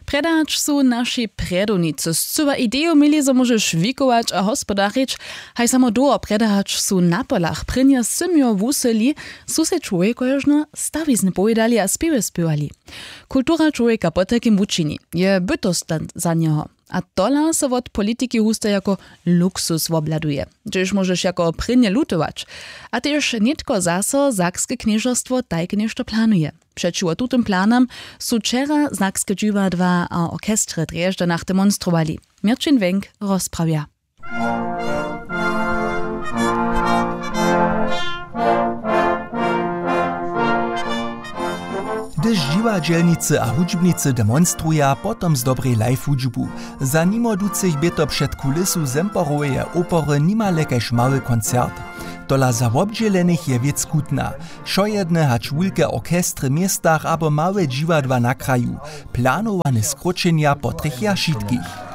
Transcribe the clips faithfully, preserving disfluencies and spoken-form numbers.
Prjedać su naši prjedownicy scyła ideju měli, zo móžeš wikować a hospodarić. Haj samo dołho prjedać su na polach prěnje symjo wusyli, su sej čłowjekožno stawizny powědali a spěwy spěwali. Kultura čłowjeka potajkim wučini, je bytostna za njeho. A tola so wot politiki husto jako luksus wobhladuje, hdźež móžeš jako prěnje lutować. A tež nětko zaso sakske knježerstwo tajke něšto planuje. Přećiwo tutym planam su wčera sakske dźiwadła a orchestry w drježdźanach demonstrowali. Měrćin wenk rozprawja. Hdyž dźiwadźelnicy a hudźbnicy demonstruja potom z dobrej live hudźbu. Za nimo ducych bě to před kulisu zemperoweje opery nimale kaž mały koncert. Tola za wobdźělenych je wěc kutna. Wšojedne hač wulke orchestry w městach abo małe dźiwadła na kraju. Planowane skróćenja potrjechja wšitkich.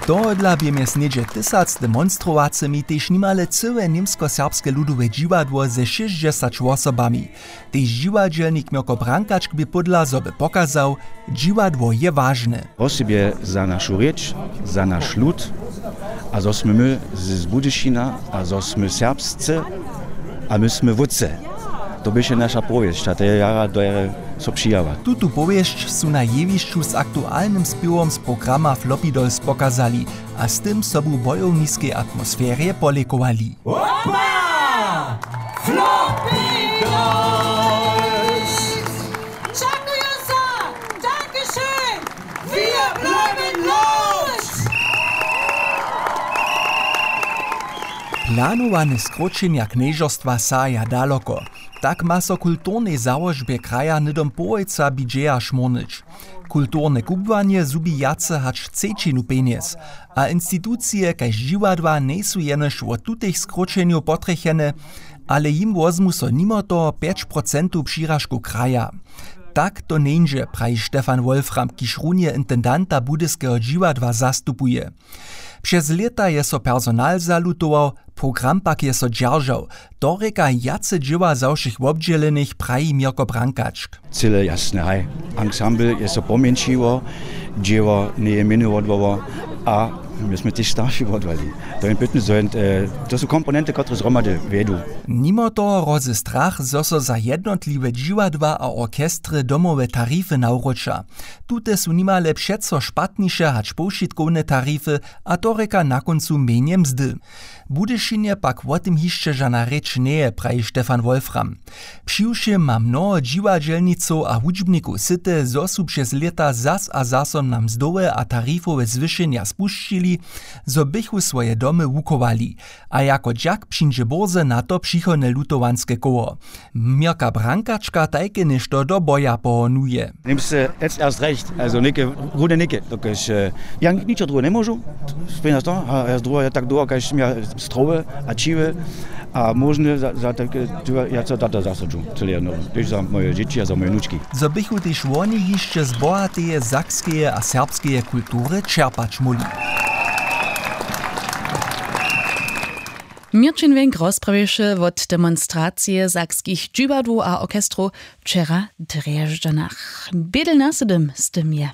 Tohodla bě mjez něhdźe tysac demonstrowacymi tež nimale cyłe němskoserbske ludowe dźiwadło ze šěsćdźesać wosobami. Tež dźiwadźelnik Mjoko Brankačk bě pódla, zo by pokazał, dźiwadło je wažne. Wosebje za našu rěč, za naš lud, a zo smy my z Budyšina a zo smy serbsce, a my smy wótře. To běše naša powěsć a to je jara do jere so přijała. Tutu powěsć su na jewišću z aktualnym spěwom z programa Floppy Dolls pokazali a z tym sobu w bojowniskej atmosferje polěkowali. Opa! Floppy Dolls! Čakujo so! Dankeschön! Wir bleiben los! Planowane skróćenja knježerstwa sahaja daloko. Tak ma so w kulturnej załožbje kraja hnydom połojca budźeja šmórnyć. Kulturne kubłanje zhubi wjace hač třećinu pjenjez. A institucije kaž dźiwadła njejsu jenož wot tutych skróćenjow potrjechene, ale jim wozmu so nimo toho pjeć procentow přiražkow kraja. Tak to njeńdźe, praji Stefan Wolfram, kiž runje intendanta budyskeho dźiwadła zastupuje. Přez lěta je so personal zalutował, program pak je so dźeržał. To rěka wjace dźěła za wšěch wobdźělenych, praji Měrko Brankačk. Cyle jasne, haj. Ansambl je so pomjeńšiło, dźěło njeje mjenje wodłowo a my smy tež starši wodłali. To je pytny, zo je, e, to su komponenty, kotrež zhromady wjedu. Nimo toho hrozy strach, zo so za jednotliwe dźiwadła a orchestry domowe tarify nawróća. Tute su nimale přeco špatniše hač powšitkowne tarify, a to rěka na kóncu mjenje mzdy. W Budyšinje pak wo tym hišće žana rěč njeje, praji Stefan Wolfram. Přiwšěm ma mnoho dźiwadźelnicow a hudźbnikow syte, zo su přez lěta zas a zaso na mzdowe a tarifowe zwyšenja spušćili, zo bychu swoje domy wuchowali. A jako dźak přińdźe bórze na to přichodne lutowanske koło. Měrka Brankačka tajke něšto do boja pohonuje. Nimmst du jetzt erst recht, also nicke, runde nicke, dokelž, e, ja ničo druhe nemóžu, spěna to, a ja druhe ja tak dołho, kaž ja strowy a čiwy a móžny za, za tak, e, ja co tato zasadźu, cyle jedno, tež za moje dźěći a za moje wnučki. Zo bychu tež woni hišće z bohateje sakskeje a serbskeje kultury čerpać móhli. Měrćin Wenk rozprawješe wot demonstracije sakskich dźiwadłow a orchestrow wčera w Drježdźanach. Bědel nasydym z tym je.